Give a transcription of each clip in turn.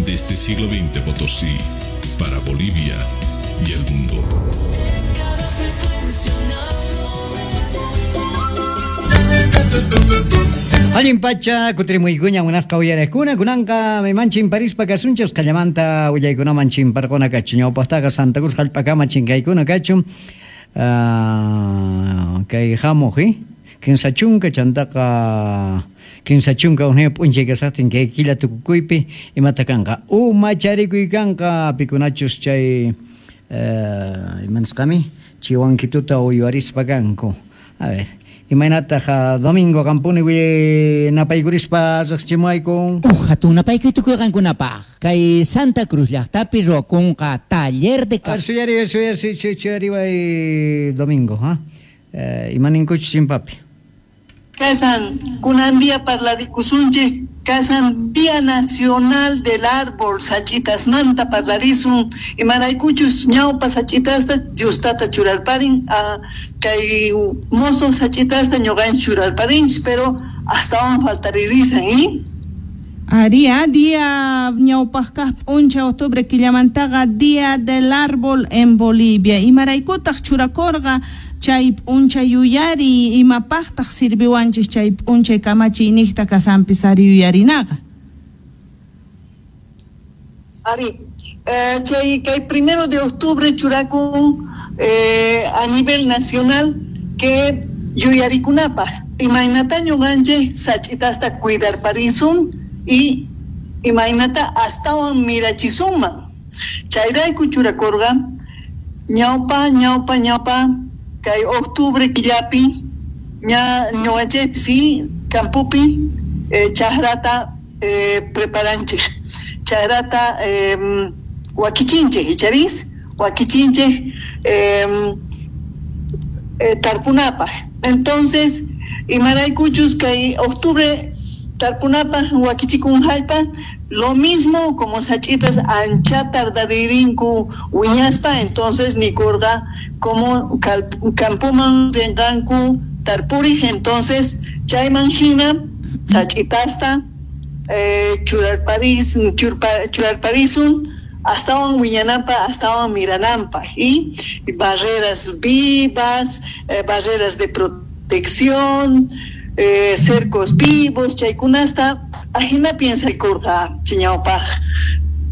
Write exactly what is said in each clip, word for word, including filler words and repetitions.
Desde siglo veinte Potosí, para Bolivia y el mundo. Allin pacha, kutirimuykuña munasqa uyariqkuna, kunanqa mayman chimparispa kasunchik, usqhallamanta willaykunaman chimparquna kachun, ñawpaqtaqa Santa Cruz hallp'akama chinkaykuna kachun, uh, kay hamuq, eh? Kinsa chunka chantaqa kinsa chunka hukniyuq p'unchay kasaqtin kay killa tukukuypi imata kanqa umacharikuy kanqa pikunachus chay uh, imanisqami chiwankituta uywarispa kanku. A ver, imaynataq domingo qampuni napaykurispa riqsichimuwayku. Uj hatun napaykuy tukuy qankunapaq kay Santa Cruz llaqtapi ruwakunqa taller de a ver, suyari suyari suyariway domingo, ha? Eh, imaninkuchus chimpapi. Kasan kunan día parlarikusunchik, kasan Día Nacional del Árbol, sachitasmanta parlarisun, imaraykuchus ñawpa sachitasta Diostata churarparin, a kay mozo sachitasta ñuqanchik churarparinchik, pero hasta faltaririsan, ¿eh? Aria, día ñawpaqkaq p'uncha octubre killamantaqa Día del Árbol en Bolivia. Imaraykutaq churakurqa chay p'uncha yuyari, imapaqtaq sirviwanchik chay p'unchay kamachiyniqta kasanpis ari yuyarinaqa. Ari, eh, chay kay primero de octubre churakun eh, a nivel nacional que yuyarikunapaq. Imaynata ñuqanchik sach'itasta cuidarparisun y imaynata astawan mirachisunman. Chayrayku churakurqa ñawpa ñawpa ñawpa kay octubre killapi ña ñuqanchikpi sí campopi eh, chakrata eh, preparanchik, chakrata eh, wakichinchik icharis wakichinchik eh, eh, tarpunapaq. Entonces imaraykuchus kay octubre tarpunapaq wakichikun hallpa, lo mismo como sachitas ancha tardaririnku wiñaspa, entonces nikurqa como campuman rinqanku tarpurij, entonces chayman hina sach'itasta eh, churarparis churpa, churarparisun astawan wiñananpa astawan mirananpa, y barreras vivas, eh, barreras de protección, Eh, cercos vivos, chaykunasta ajina piensa kurqa chiñawpaq,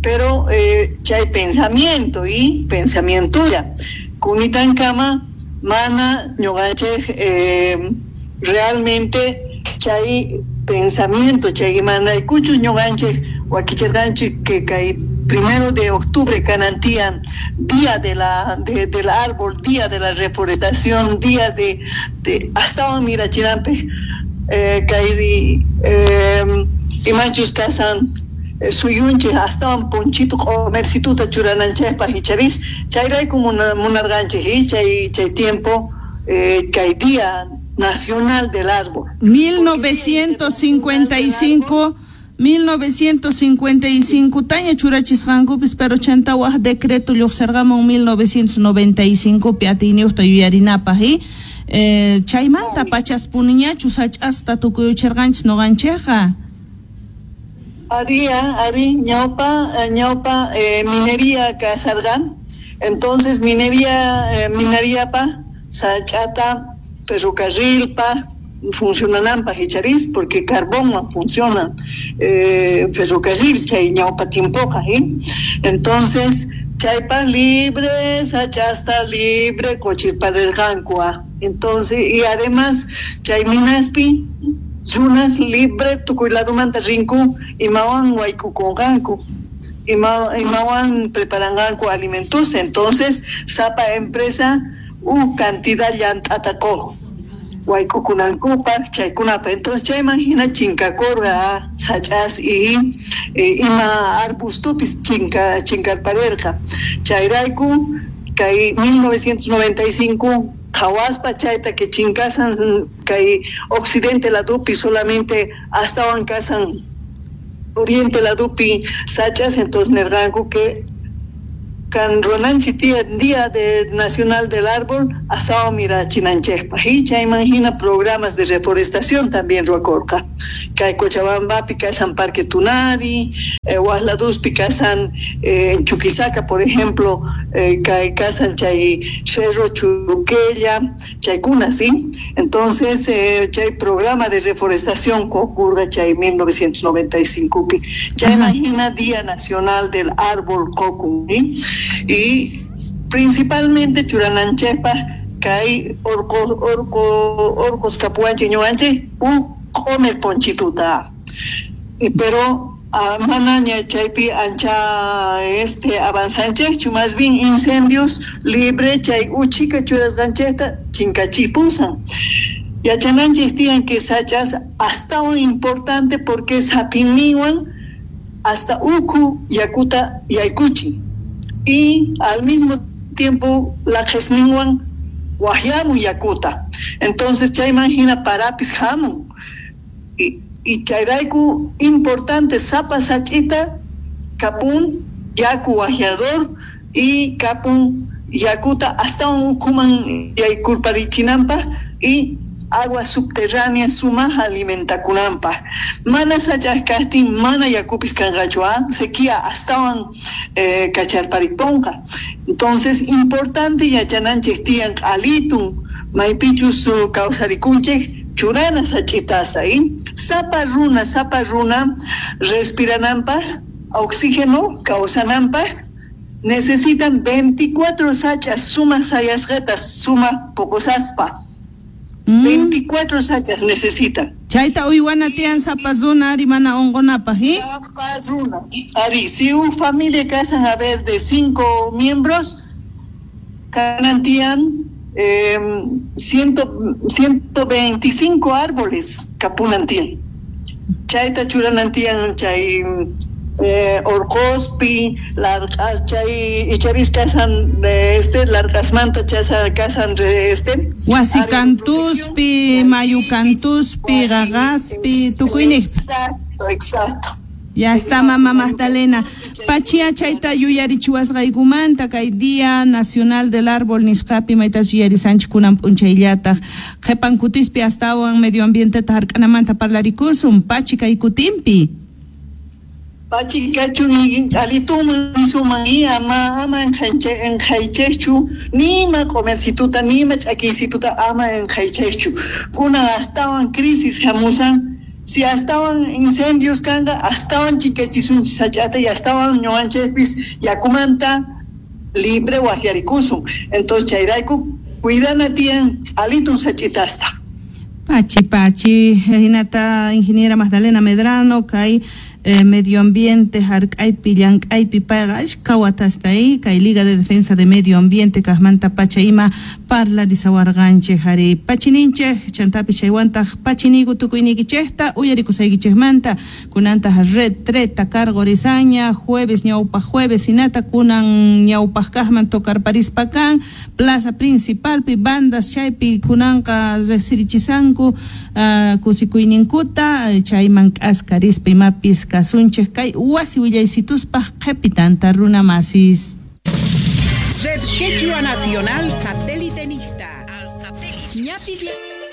pero eh, chay pensamiento y pensamientulla kunitankama mana ñuqanchik eh, realmente chay pensamiento chay imanaykuchu ñuqanchik wakichirqanchik que kay primero de octubre kanantian día de la de, del árbol, día de la reforestación, día de, de hasta mirachirampe eh, kay eh, imanchus kasan eh, suyunchik astawan ponchito comercituta churananchikpaq icharis chayrayku munarqanchik y chay chay tiempo eh, kay día nacional del árbol. mil novecientos cincuenta y cinco mil novecientos cincuenta y cinco taña churachisqankupis, pero chantawaj decreto lluqsirqamun mil novecientos noventa y cinco pi atiyniyuqta yuyarinapaq, y eh, chaymanta pachaspuniñachu sach'asta tukuyuchirqanchis ñuqanchikqa. Aria, ari, ñawpa, ñawpa eh, minería kasarqan, entonces minería eh, mineriapa sach'ata ferrocarrilpa funcionananpaq icharis, porque carbón no funciona eh, ferrocarril chay ñawpa tiempoqa, ¿eh? Entonces chaypa libre sach'asta libre cochirparerqanku. Entonces y además chay minaspi runas libre tukuy ladumanta rinku imawan waykukunqanku, ima imawan preparanqanku alimentos. Entonces sapa empresa u cantidad llant'ata quq waykukunankupaq chaykunapaq. Entonces chayman hina chinkakurqa sach'as y eh, ima arbustupis chinka chinkarparerqa. Chayrayku kay mil novecientos noventa y cinco qhawaspa chayta que chinkasan kay occidente ladupi solamente astawan kasan oriente ladupi sach'as, entonces nerqanku que kan ruwananchik Día de Nacional del Árbol asao mirachinanchikpaq, y chayman hina programas de reforestación también ruwakurqa. Kay Cochabambapi kasan Parque Tunari, Eh, Wasladuspi kasan eh, en Chuquisaca, por ejemplo, eh, kasan chay Cerro Churuquella, chaykuna, ¿sí? Entonces, eh, chay programa de reforestación ocurre chay mil novecientos noventa y cinco pi. Ya imagina Día Nacional del Árbol Cocum, ¿sí? Y principalmente churananchepa kay orco orco orcos capuanche ñuanche u comer ponchituta. Y pero manaña chaypi ancha este avanzanchejchu, más bien incendios libre chay uchika churasqanchejta chinkachipusan. Yachananchej tiyan que sachas hasta un importante porque sapiniwan hasta uku yakuta yaykuchi y al mismo tiempo la jesninwan wahyamu yakuta. Entonces chayman hina parapis hamun. Y Y chayrayku importante sapa sachita kapun yaku wajiador y kapun yakuta hasta un ukuman yaykurparichinampa y agua subterránea sumaja alimentakunampa. Mana sachascastin mana yakupis kanqachua sequía hasta un eh, kacharpariponqa. Entonces importante yachananchej tiyan alitun maypichus kawsarikunchej churana sachitasa, ¿eh? Sapa runa, sapa runa, respiranampa, oxígeno, causanampa, necesitan veinticuatro sachas, suma sayasqetas, suma pocosaspa. Mm. veinticuatro sachas necesitan. Chayta uywana tiyan sapa runa, ari mana ongonapaj, ¿eh? Sapa runa. Ari, si un familia casan a ver de cinco miembros, canantian Eh, ciento, ciento veinticinco árboles kapunantian. Chayta churanantian chay eh, orqospi, largas chay icharis kasan este largasmanta chasa kasan este wasikantuspi, mayukantuspi, gagaspi, tukuyniq. Exacto, exacto. Ya está, mamá Magdalena. Pachia chayta yuyarichiwasqaykumanta kay Día Nacional del Árbol nisqapi maytas yuyarisanchik kunan p'unchayllataq qhipan kutispi astawan medio ambienteta hark'anamanta parlarikusun pachi kay kutinpi. Pachi kachun alituman suman ama ama enjaychejchu nima comercituta nima ch'akiysituta ama enjaychejchu kunan astawan crisis hamusan. Si astawan incendios kanga, astawan chikachisun sachata y astawan ñuanchejpis yakumanta libre wajiarikusun. Entonces chayrayku cuidana tiyan alitun sachitasta. Pachi, pachi, hinata ingeniera Magdalena Medrano, kay eh, medio ambiente, hark'aypi, llank'aypi, payqa ashka watasta ahí, kay Liga de Defensa de Medio Ambiente, kajmanta pacha ima parlarisawarqanchej ari pachininchej, chantapi chaywantaq pachiniku tukuyniykichejta, uyarikusaykichejmanta, kunantaq retreta cargorisaña, jueves ñawpaq jueves hinata, kunan ñawpaq kajman tocarparispa kan, plaza principalpi, bandas chaypi kunanqa resirichisanku, Uh, kusikuyninkuta chayman k'askarispa imapis kasunchej kay wasi willaysituspa qhipitanta runa masis. Red Quechua Nacional Satélite Nista.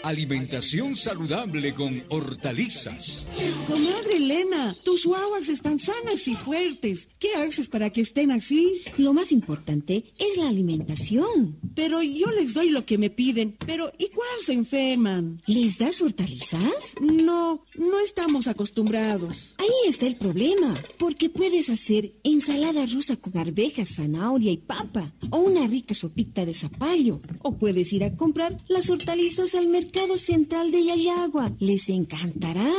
Alimentación saludable con hortalizas. Comadre Elena, tus guaguas están sanas y fuertes. ¿Qué haces para que estén así? Lo más importante es la alimentación. Pero yo les doy lo que me piden, pero igual se enferman. ¿Les das hortalizas? No, no estamos acostumbrados. Ahí está el problema, porque puedes hacer ensalada rusa con arvejas, zanahoria y papa, o una rica sopita de zapallo, o puedes ir a comprar las hortalizas al mercado Central de Llallagua. Les encantará.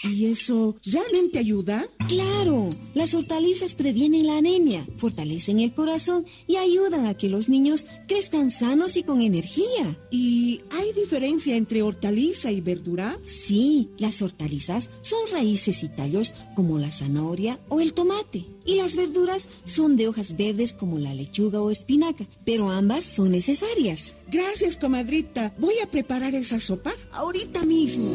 ¿Y eso realmente ayuda? Claro, las hortalizas previenen la anemia, fortalecen el corazón y ayudan a que los niños crezcan sanos y con energía. ¿Y hay diferencia entre hortaliza y verdura? Sí, las hortalizas son raíces y tallos como la zanahoria o el tomate. Y las verduras son de hojas verdes como la lechuga o espinaca, pero ambas son necesarias. Gracias, comadrita. Voy a preparar esa sopa ahorita mismo.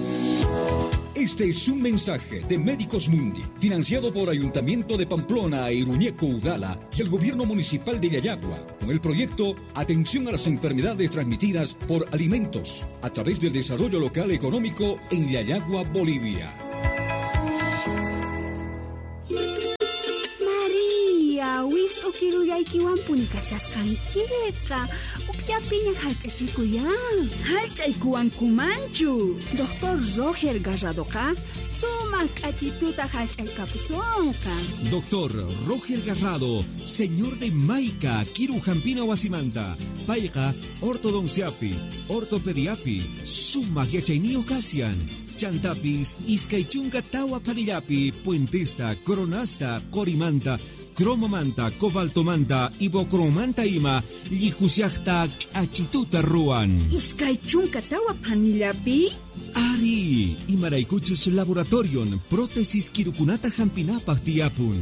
Este es un mensaje de Médicos Mundi, financiado por Ayuntamiento de Pamplona e Iruñeco Udala y el Gobierno Municipal de Llallagua, con el proyecto Atención a las Enfermedades Transmitidas por Alimentos, a través del Desarrollo Local Económico en Llallagua, Bolivia. Kirullaykiwanpuni kashasqankiqa ukllapiña hallch'achikuyan. Hallch'aykuwankumanchu. Doctor Roger Garradoqa sumaq k'achituta hallch'aykapusunqa. Doctor Roger Garrado, señor de Maica, Kiru Jampina Wasimanta, payqa ortodonciapi, ortopediapi, sumaq yachayniyuq kasian. Chantapis, iskay chunka tawa phanillapi, puentesta, coronasta, qorimanta, cromomanta, cobaltomanta, ibocromanta ima, llijusiaqta k'achituta ruwan. Iskay chunka tawa phanillapi? Ari, imaraykuchus laboratorion prótesis kirukunata hampinapaq tiyapun.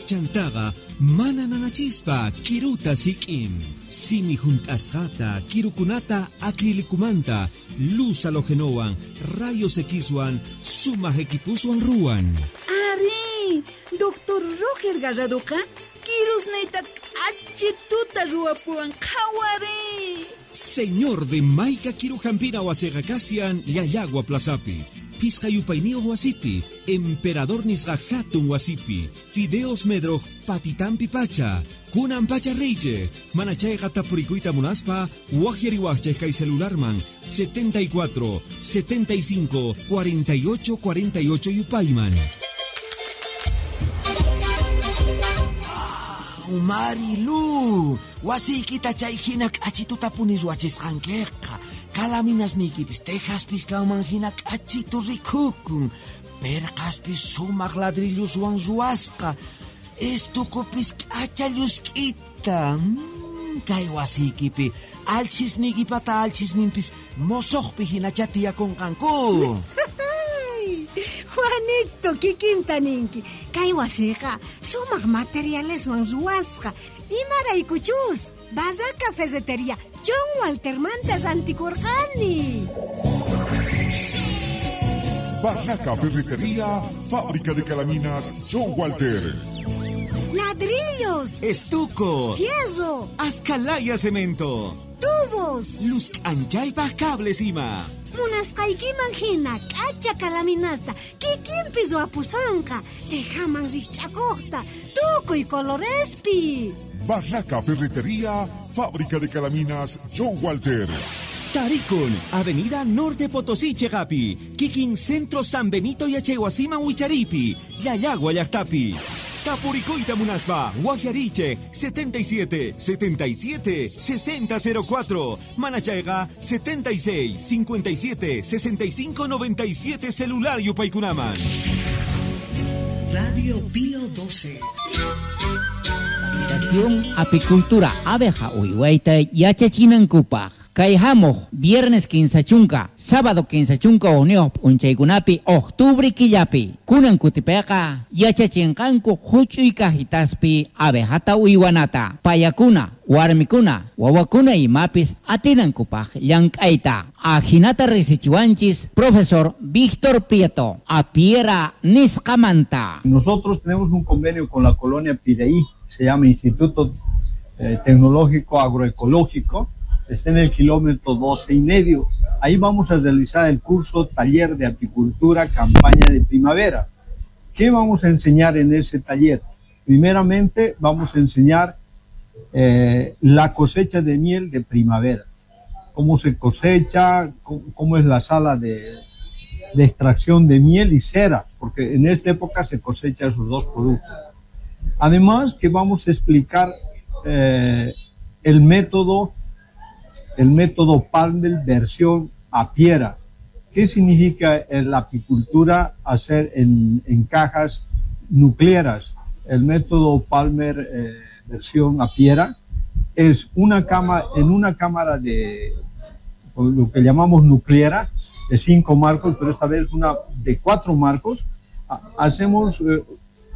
Chantaqa mana nanachispa kiruta sik'in. Simi junt'asqata kirukunata acrilicumanta, luz halogenowan, rayos Xwan, sumaq equipuswan ruwan. Ari, doctor Roger Garradoqa kirusniyta k'achituta ruwapuwan qhawari. Señor de Maica Kirujampina wasiqa kasian Llallagua Plazapi, Pisqa yupayniyuq wasipi, Emperador nisqa hatun wasipi, Fideos Medroj patitampi pacha, kunan pacha reyche, manachayqa tapurikuyta munaspa, waqyariwaqchej kay celularman setenta y cuatro, setenta y cinco, cuarenta y ocho, cuarenta y ocho yupayman. Marilu, wasiykita chay hina k'achituta puni ruwachisqankiqa. Kalaminasniykipis tejaspis kanman hina k'achitu rikukun. Perqaspis sumaq ladrilluswan ruwasqa. Estukupis k'acha llusk'ita. Mm, kay wasiykipi alchisniykipata alchisninpis mosoqpi hinacha tiyakunqanku. Juanito, kikinta ninki. Kay wasiqa sumaq materialeswan ruwasqa. Imaraykuchus Barraca Ferretería John Waltermanta rantikurqani. Barraca Ferretería, fábrica de calaminas John Walter. Ladrillos, estuco, fierro, ascalaya cemento, tubos, luz anchaypaj cables ima. Munasqaykiman hina k'acha kalaminasta kikinpi ruwapusonqa, tejaman rikch'akuqta, tukuy colorespi. Barraca Ferretería, fábrica de calaminas John Walter. Tarikun, Avenida Norte Potosí, Chegapi, Kikin Centro San Benito Yachaywasiman Wicharipi, Llallagua llaqtapi. Tapurikuyta munaspa, Guajariche, setenta y siete, setenta y siete, sesenta cero cuatro, Manachayga, setenta y seis, cincuenta y siete, sesenta y cinco, noventa y siete, celular yupaykunaman. Radio Pío doce. Capacitación apicultura abeja uywayta yachachinankupaj. Kay hamuq viernes kinsa chunka, sábado kinsa chunka uqniyuq p'unchaykunapi octubre killapi. Kunan kutipiqa yachachinqanku huch'uy cajitaspi abejata uywanata, payakuna, warmikuna, wawakuna imapis atinankupaj llank'ayta. Ajinata risichiwanchis profesor Víctor Prieto, apiera nisqamanta. Nosotros tenemos un convenio con la colonia Pireí, se llama Instituto eh, Tecnológico Agroecológico, está en el kilómetro doce y medio. Ahí vamos a realizar el curso Taller de Apicultura Campaña de Primavera. ¿Qué vamos a enseñar en ese taller? Primeramente vamos a enseñar eh, la cosecha de miel de primavera. Cómo se cosecha, cómo, cómo es la sala de, de extracción de miel y cera, porque en esta época se cosecha esos dos productos. Además que vamos a explicar eh, el método el método Palmer versión apiera. ¿Qué significa la apicultura hacer en, en cajas nucleares? El método Palmer eh, versión apiera es una cama, en una cámara de lo que llamamos nucleara, de cinco marcos, pero esta vez una de cuatro marcos, hacemos eh,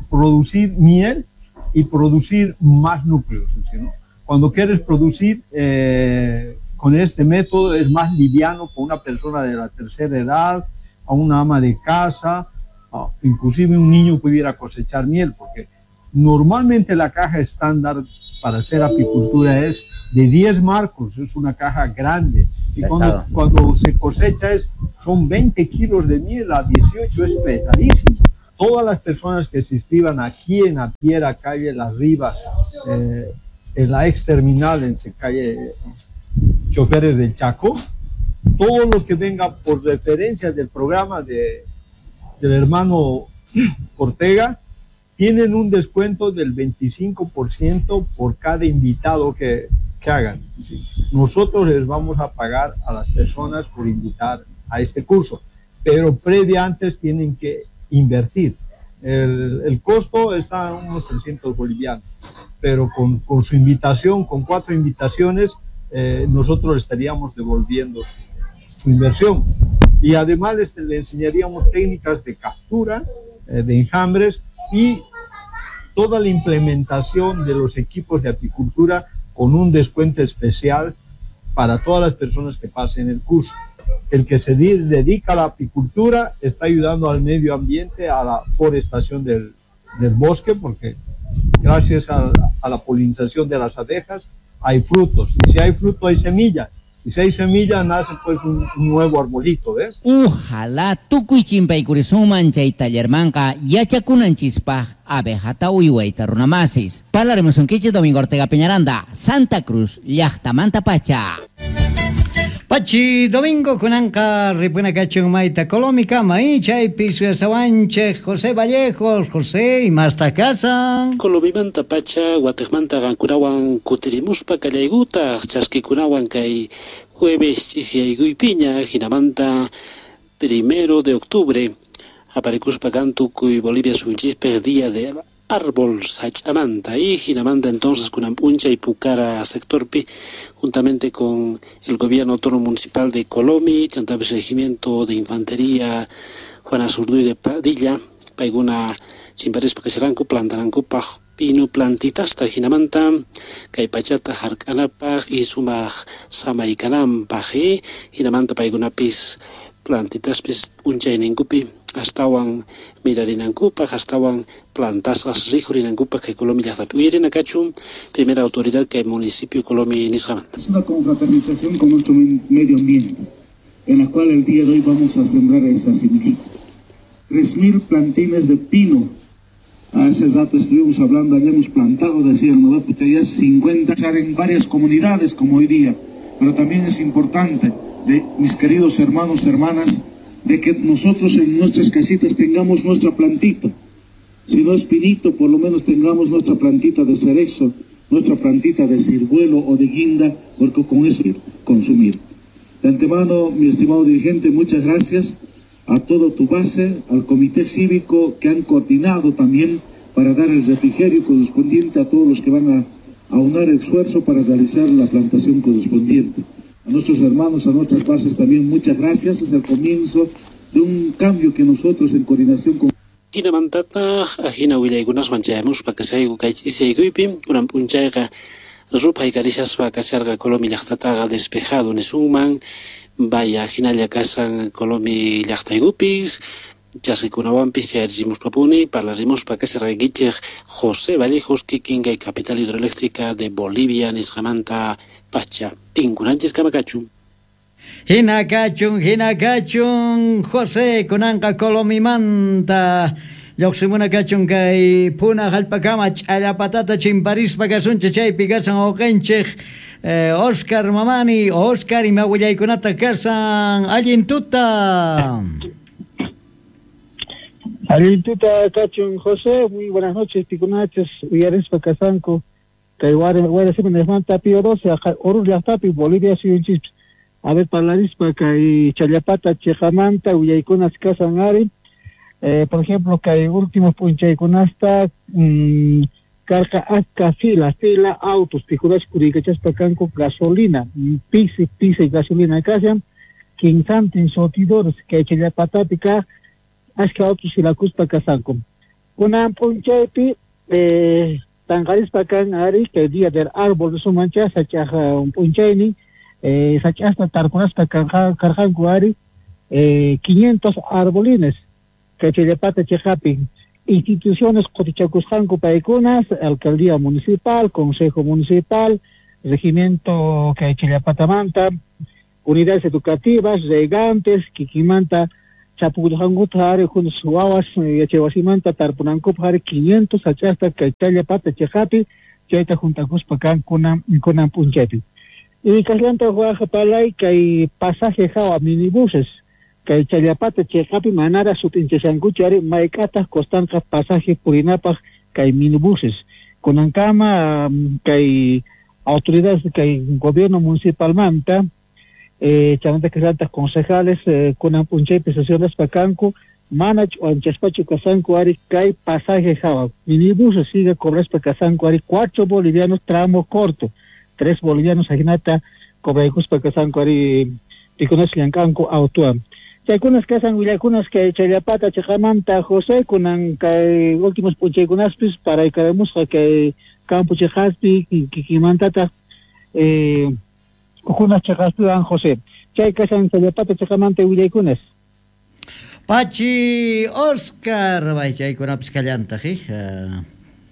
producir miel y producir más núcleos, ¿no? Cuando quieres producir eh, con este método es más liviano con una persona de la tercera edad, a una ama de casa, a, inclusive un niño pudiera cosechar miel, porque normalmente la caja estándar para hacer apicultura es de diez marcos, es una caja grande. Y cuando, cuando se cosecha es, son veinte kilos de miel a dieciocho, es pesadísimo. Todas las personas que se inscriban aquí en Apiera, calle Las Rivas, eh, en la ex terminal, en calle Choferes del Chaco, todos los que vengan por referencia del programa de, del hermano Ortega, tienen un descuento del veinticinco por ciento por cada invitado que, que hagan. ¿Sí? Nosotros les vamos a pagar a las personas por invitar a este curso, pero previa antes tienen que invertir. El, el costo está en unos trescientos bolivianos, pero con, con su invitación, con cuatro invitaciones, eh, nosotros le estaríamos devolviendo su, su inversión. Y además este, le enseñaríamos técnicas de captura, eh, de enjambres y toda la implementación de los equipos de apicultura con un descuento especial para todas las personas que pasen el curso. El que se dedica a la apicultura está ayudando al medio ambiente, a la forestación del, del bosque, porque gracias a, a la polinización de las abejas hay frutos, y si hay fruto hay semillas, y si hay semilla nace pues un, un nuevo arbolito, ¿eh? Ojalá tukuy chimpaykurisuman chay tallermanqa yachakunanchispaj abejata uywayta runamasis. Parlaremos un quiche Domingo Ortega Peñaranda, Santa Cruz, llaqtamanta pacha. Pachi Domingo kunanqa ripuna kachun mayta Colomikama y chaypi suyasawanchej José Vallejos. José, imasta kasan? Colomimanta pacha watejmanta qankunawan kutirimuspa kallaykutaq chaskikunawan kay jueves ch'isyaykuypiña hinamanta primero de octubre aparikuspa kan tukuy Bolivia suyunchispej día de árbol sach'amanta y hinamanta entonces kunan p'unchay Pucara sectorpi juntamente con el gobierno autónomo municipal de Colomi, chantapis regimiento de infantería Juana Azurduy de Padilla, paykuna chimparispa kasharanku plantanankupaj pino plantitasta hinamanta kay pachata hark'anapaj y sumaq samaykananpaj y hinamanta paykunapis plantitaspis p'unchayninkupi astawan mirarinankupaj, astawan plantasqas riqhurinankupaj kay Colomi llaqtapi. Uyarina kachun primera autoridad kay municipio Colomi nisqamanta. Es una confraternización con nuestro medio ambiente, en la cual el día de hoy vamos a sembrar esa semillita. Tres mil plantines de pino. Hace rato estuvimos hablando, allá hemos plantado, decían, no, pues ya cincuenta en varias comunidades como hoy día. Pero también es importante, de mis queridos hermanos, hermanas, de que nosotros en nuestras casitas tengamos nuestra plantita. Si no es pinito, por lo menos tengamos nuestra plantita de cerezo, nuestra plantita de ciruelo o de guinda, porque con eso consumir. De antemano, mi estimado dirigente, muchas gracias a todo tu base, al comité cívico que han coordinado también para dar el refrigerio correspondiente a todos los que van a aunar el esfuerzo para realizar la plantación correspondiente. A nuestros hermanos, a nuestras bases también, muchas gracias. Es el comienzo de un cambio que nosotros en coordinación con... Hinamantataq ajina willaykunaswan chayamuspa kashayku kay ch'isiyaykuypi kunan p'unchayqa ruphay karishaspa kasharqa Colomi llaqtataqa despejado nisunman, vaya hinalla kashan Colomi llaqtaykupis chaskikunawanpis chayarichimuspapuni parlarimuspa kasharqaykichej José Vallejos kikin kay capital hidroeléctrica de Bolivia nisqamanta pacha. Tinkunanchis kama kachun. Hina kachun, hina kachun, José kunanqa Colomimanta lluqsimuna kachun kay Puna hallp'akama ch'allapatata chimparispa kasunchik chaypi kasan uqinchik eh, Oscar Mamani. Oscar, ima willaykunata kasan allin tuta. Allin tuta kachun, José, muy buenas noches, pikunaches uyarispa kasanku kay wara Pío doce Oruro llaqtapi Bolivia suyunchispis. A ver, parlarispa kay Challapata chiqamanta willaykunas kasan ari. Eh, por ejemplo, kay últimos p'unchaykunasta mmm, karqa achka fila, fila autos pikunash kurikachaspa kanku gasolina, pisi pisi gasolina kashan, kinsantin surtidores kay Challapatapi kaq achka autos filakuspa kasanku. Kunan p'unchaypi eh, tanqarispa kan ari kay día del árbol sumancha sach'aj p'unchaynin eh, sach'asta tarkunaspa karqanku ari eh, quinientos arbolines kay Challapata chiqapi. Instituciones qutichakusqanku paykunas, alcaldía municipal, consejo municipal, regimiento kay Challapatamanta, unidades educativas, regantes, kikimanta chapukullankuta ari juntos wawas yachaywasimanta tarpunankupaq ari quinientos sach'asta kay Challapata chiqapi chayta juntakuspa kan kunan kunan p'unchaypi. Y kaqllanta waj palay kay pasaje hawa minibuses kay Challapata chiqapi manara sut'inchashankuchu ari mayk'ataq costanqa pasaje purinapaq kay minibuses kunankama um, kay autoridades kay gobierno municipalmanta eh, chaymanta kaqllantaq concejales eh, kunan p'unchaypi sesionaspa kanku mana ch'uanchaspachu kasanku ari kay pasaje hawa minibuses sigue cobraspa kasanku ari cuatro bolivianos tramo corto tres bolivianos ajinata cobraykuspa kasanku ari pikunas llank'anku autuwan. Chaykunas kasan willakunas kay Challapata chiqamanta José kunan kay últimos p'unchaykunaspis paraykaramusqa kay campo chiqaspi kikinmantataq eh, ujunas chiqaspiwan José. Chay kasan Challapata chiqamanta willaykunas. Pachi Oscar, bay chaykunapis kallantaq, eh?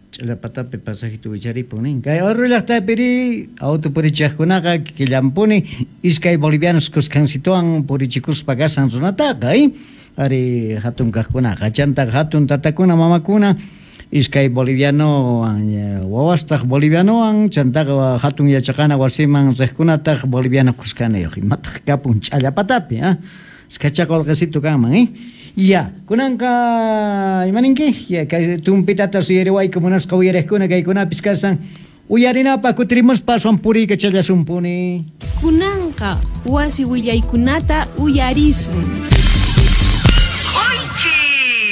Challapatapi pasajito wicharipun nin. Kay Oruro llaqtapiri auto purichaqkunaqa killampuni iskay bolivianos kuskansituwan purichikuspa kasan runataqa, eh? Ari hatun kaqkunaqa chantaq hatun tatakuna mamakuna iskay bolivianowan wawastaq bolivianowan chantaqa hatun yachaqana wasiman riqkunataq boliviano kuskanayuq imataq kapun Challapatapi, ah? Iskachaqa qolqesitu kanman, eh? Ya, kunanqa imaninki? Ya, kay tumpitata suyariwayku munasqa uyariqkuna kaykunapis kasan uyarinapaq kutirimuspa aswan puriykachallasumpuni. Kunanqa wasi willaykunata uyarisun.